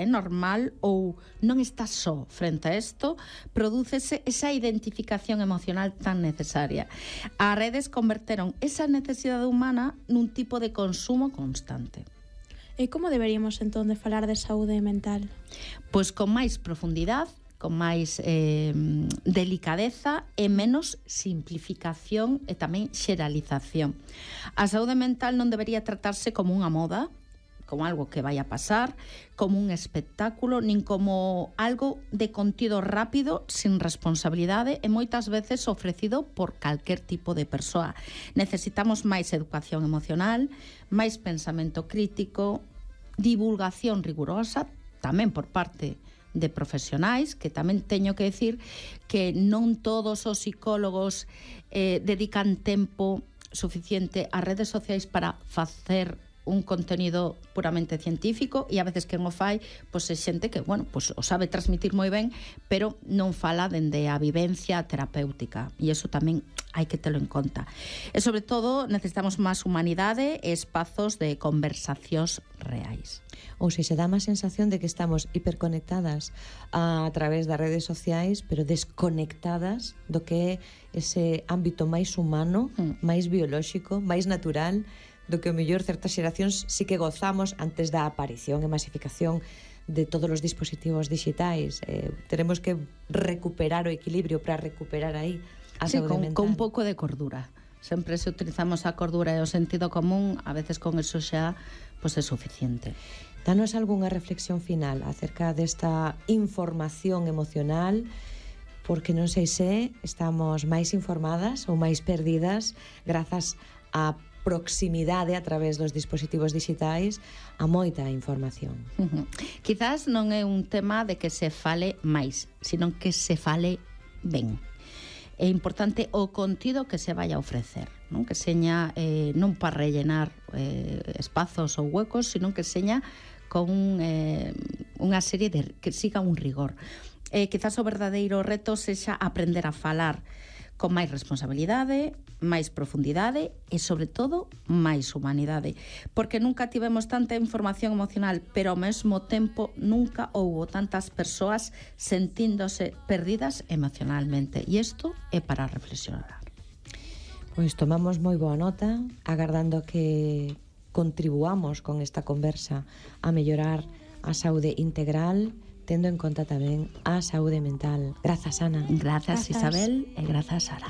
é normal ou non estás só frente a isto, prodúcese esa identificación emocional tan necesaria. As redes converteron esa necesidade humana nun tipo de consumo constante. E como deberíamos entón de falar de saúde mental? Pois con máis profundidade, con máis delicadeza e menos simplificación e tamén xeralización. A saúde mental non debería tratarse como unha moda, como algo que vai a pasar, como un espectáculo, nin como algo de contido rápido, sin responsabilidade e moitas veces ofrecido por calquer tipo de persoa. Necesitamos máis educación emocional, máis pensamento crítico, divulgación rigurosa, tamén por parte de profesionais, que tamén teño que decir que non todos os psicólogos dedican tempo suficiente ás redes sociais para facer un contenido puramente científico, e a veces quen o fai pois é xente que, bueno, pois o sabe transmitir moi ben, pero non fala dende a vivencia terapéutica, e iso tamén hai que telo en conta. E sobre todo necesitamos máis humanidade e espazos de conversacións reais. Ou seja, dá má sensación de que estamos hiperconectadas a través das redes sociais, pero desconectadas do que é ese ámbito máis humano, máis biolóxico, máis natural, do que o mellor certas xeracións sí que gozamos antes da aparición e masificación de todos os dispositivos digitais. Teremos que recuperar o equilibrio para recuperar aí a saúde mental. Con un pouco de cordura. Sempre se utilizamos a cordura e o sentido común, a veces con eso xa pois é suficiente. Danos algunha reflexión final acerca desta información emocional, porque non sei se estamos máis informadas ou máis perdidas grazas a proximidade a través dos dispositivos digitais a moita información. Quizás non é un tema de que se fale máis, sino que se fale ben. É importante o contido que se vai a ofrecer, non? Que seña non para rellenar espazos ou huecos, sino que seña con unha serie de que siga un rigor. Quizás o verdadeiro reto sexa aprender a falar con máis responsabilidade, máis profundidade e, sobre todo, máis humanidade. Porque nunca tivemos tanta información emocional, pero ao mesmo tempo nunca houbo tantas persoas sentíndose perdidas emocionalmente. E isto é para reflexionar. Pois tomamos moi boa nota, agardando que contribuamos con esta conversa a mellorar a saúde integral, tendo en conta tamén a saúde mental. Grazas, Ana. Grazas, Isabel, e grazas, Sara.